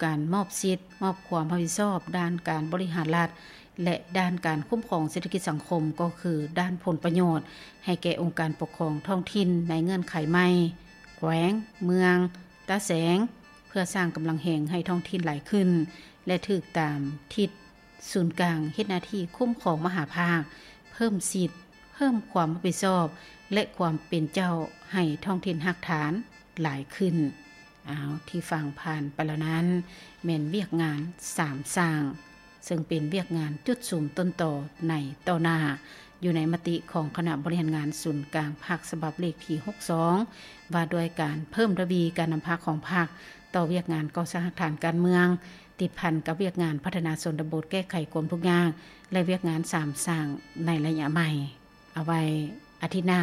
ການມອບສິດ, ມອບຄວາມຮັບຜິດຊອບດ້ານການບໍລິຫານລັດ ແລະ ດ້ານການຄຸ້ມຄອງເສດຖະກິດສັງຄົມ ກໍຄືດ້ານຜົນປະໂຫຍດໃຫ້ແກ່ອົງການປົກຄອງທ້ອງຖິ່ນໃນເງື່ອນໄຂໃໝ່, ແຂວງ, ເມືອງ, ຕາແສງ, ເພື່ອສ້າງກຳລັງແຮງໃຫ້ທ້ອງຖິ່ນຫຼາຍຂຶ້ນ ແລະ ຖືກຕາມທິດສູນກາງເຮັດໜ້າທີ່ຄຸ້ມຄອງມະຫາພາກ, ເພີ່ມສິດ, ເພີ່ມຄວາມຮັບຜິດຊອບ ແລະ ຄວາມເປັນເຈົ້າໃຫ້ທ້ອງຖິ່ນຮາກຖານຫຼາຍຂຶ້ນ. ອ້າວ ທີ່ຟັງຜ່ານໄປແລ້ວນັ້ນ ແມ່ນວຽກງານສາມສ້າງ ເຊິ່ງເປັນວຽກງານຈຸດສຸມຕົ້ນຕໍໃນຕໍ່ໜ້າ ຢູ່ໃນມະຕິຂອງຄະນະບໍລິຫານງານສູນກາງພັກ ສະບັບເລກທີຫົກສອງ ວ່າດ້ວຍການເພີ່ມທະວີການນຳພາຂອງພັກຕໍ່ວຽກງານກໍ່ສ້າງຮາກຖານການເມືອງ ຕິດພັນກັບວຽກງານພັດທະນາຊົນນະບົດ, ແກ້ໄຂຄວາມທຸກຍາກ ແລະ ວຽກງານສາມສ້າງໃນໄລຍະໃໝ່. ເອົາໄວ້ອາທິດໜ້າ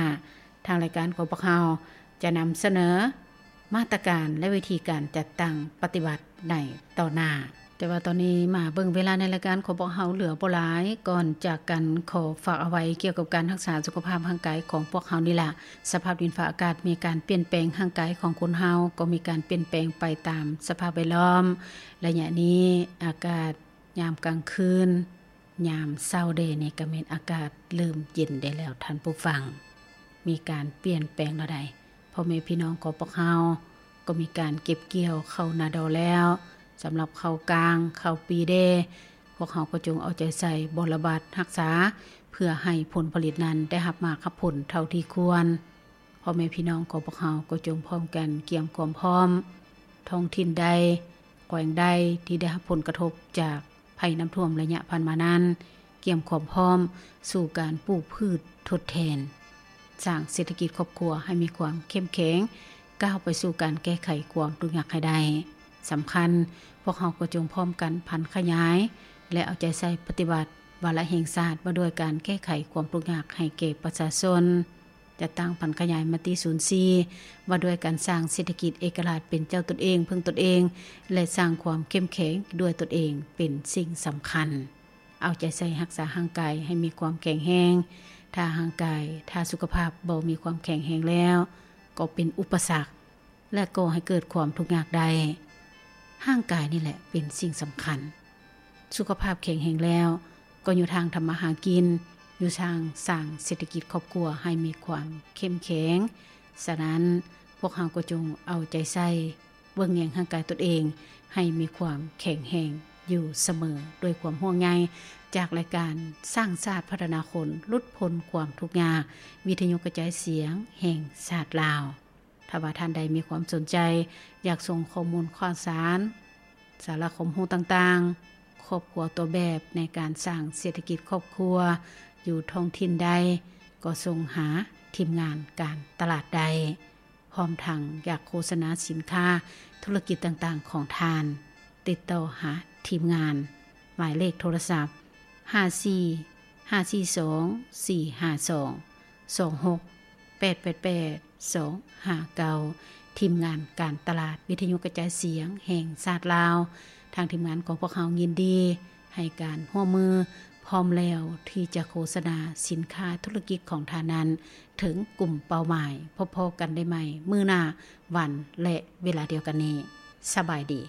ທາງລາຍການຂອງພວກເຮົາຈະນຳສະເໜີມາດຕະການ ແລະ ວິທີການຈັດຕັ້ງປະຕິບັດໃນຕໍ່ໜ້າ. ແຕ່ວ່າຕອນນີ້ມາເບິ່ງເວລາໃນລາຍການຂອງພວກເຮົາເຫຼືອບໍ່ຫຼາຍ. ກ່ອນຈາກກັນ ຂໍຝາກເອົາໄວ້ກ່ຽວກັບການຮັກສາສຸຂະພາບຮ່າງກາຍຂອງພວກເຮົານີ້ລະ. ສະພາບດິນຟ້າອາກາດມີການປ່ຽນແປງ, ຮ່າງກາຍຂອງຄົນເຮົາກໍມີການປ່ຽນແປງໄປຕາມສະພາບແວດລ້ອມ. ໄລຍະນີ້ອາກາດຍາມກາງຄືນ ຍາມເຊົ້າແດ່ນີ້ກໍແມ່ນອາກາດເລີ່ມເຢັນໄດ້ແລ້ວທ່ານຜູ້ຟັງ, ມີການປ່ຽນແປງແລ້ວໃດ໋. ພໍ່ແມ່ພີ່ນ້ອງຂອງພວກເຮົາກໍມີການເກັບກ່ຽວເຂົ້ານາດໍແລ້ວ. ສຳລັບເຂົ້າກາງ, ເຂົ້າປີແດ່, ພວກເຮົາກໍຈົ່ງເອົາໃຈໃສ່ບໍລະບັດຮັກສາ ເພື່ອໃຫ້ຜົນຜະລິດນັ້ນໄດ້ຮັບໝາກຮັບຜົນເທົ່າທີ່ຄວນ. ພໍ່ແມ່ພີ່ນ້ອງຂອງພວກເຮົາກໍຈົ່ງພ້ອມກັນກຽມຄວາມພ້ອມ. ທ້ອງຖິ່ນໃດ, ແຂວງໃດທີ່ໄດ້ຮັບຜົນກະທົບຈາກໄພນ້ຳຖ້ວມໄລຍະຜ່ານມານັ້ນ, ກຽມຄວາມພ້ອມສູ່ການປູກພືດທົດແທນ, ສ້າງເສດຖະກິດຄອບຄົວໃຫ້ມີຄວາມເຂັ້ມແຂງ, ກ້າວໄປສູ່ການແກ້ໄຂຄວາມທຸກຍາກໃຫ້ໄດ້. ສຳຄັນ, ພວກເຮົາກໍຈົ່ງພ້ອມກັນຜັນຂະຫຍາຍ ແລະ ເອົາໃຈໃສ່ປະຕິບັດວາລະແຫ່ງຊາດວ່າດ້ວຍການແກ້ໄຂຄວາມທຸກຍາກໃຫ້ແກ່ປະຊາຊົນ. ຈັດຕັ້ງຜັນຂະຫຍາຍມະຕິສູນສີ່ ວ່າດ້ວຍການສ້າງເສດຖະກິດເອກະລາດເປັນເຈົ້າຕົນເອງ, ເພິ່ງຕົນເອງ ແລະ ສ້າງຄວາມເຂັ້ມແຂງດ້ວຍຕົນເອງເປັນສິ່ງສຳຄັນ. ເອົາໃຈໃສ່ຮັກສາຮ່າງກາຍໃຫ້ມີຄວາມແຂງແຮງ. ຖ້າຮ່າງກາຍ, ຖ້າສຸຂະພາບບໍ່ມີຄວາມແຂງແຮງແລ້ວ, ກໍເປັນອຸປະສັກ ແລະ ກໍ່ໃຫ້ເກີດຄວາມທຸກຍາກໄດ້. ຮ່າງກາຍນີ້ແຫຼະເປັນສິ່ງສຳຄັນ. ສຸຂະພາບແຂງແຮງແລ້ວ ກໍຢູ່ທາງທຳມາຫາກິນ, ຢູ່ທາງສ້າງເສດຖະກິດຄອບຄົວໃຫ້ມີຄວາມເຂັ້ມແຂງ. ສະນັ້ນ, ພວກເຮົາກໍຈົ່ງເອົາໃຈໃສ່ເບິ່ງແຍງຮ່າງກາຍຕົນເອງໃຫ້ມີຄວາມແຂງແຮງຢູ່ສະເໝີ ດ້ວຍຄວາມຫ່ວງໃຍຈາກລາຍການສ້າງຊາດພັດທະນາຄົນ ຫຼຸດພົ້ນຄວາມທຸກຍາກ ວິທະຍຸກະຈາຍສຽງແຫ່ງຊາດລາວ. ຖ້າວ່າທ່ານໃດມີຄວາມສົນໃຈ ຢາກສົ່ງຂໍ້ມູນຂ່າວສານ, ສາລະຄວາມຮູ້ຕ່າງໆ, ຄອບຄົວຕົວແບບໃນການສ້າງເສດຖະກິດຄອບຄົວຢູ່ທ້ອງຖິ່ນໃດ, ກໍສົ່ງຫາທີມງານການຕະຫຼາດໄດ້. ພ້ອມທັງຢາກໂຄສະນາສິນຄ້າທຸລະກິດຕ່າງໆຂອງທ່ານ, ຕິດຕໍ່ຫາທີມງານ. ໝາຍເລກໂທລະສັບ ຫ້າສີ່ ຫ້າສີ່ສອງ ສີ່ຫ້າສອງ ສອງຫົກ ແປດແປດແປດ ສອງຫ້າເກົ້າ ທີມງານການຕະຫຼາດວິທະຍຸກະຈາຍສຽງແຫ່ງຊາດລາວ. ທາງທີມງານຂອງພວກເຮົາຍິນດີໃຫ້ການຮ່ວມມື, ພ້ອມແລ້ວທີ່ຈະໂຄສະນາສິນຄ້າທຸລະກິດຂອງທ່ານນັ້ນເຖິງກຸ່ມເປົ້າໝາຍ. ພົບພໍ້ກັນໄດ້ໃໝ່ມື້ໜ້າ, ວັນ ແລະ ເວລາດຽວກັນນີ້. ສະບາຍດີ.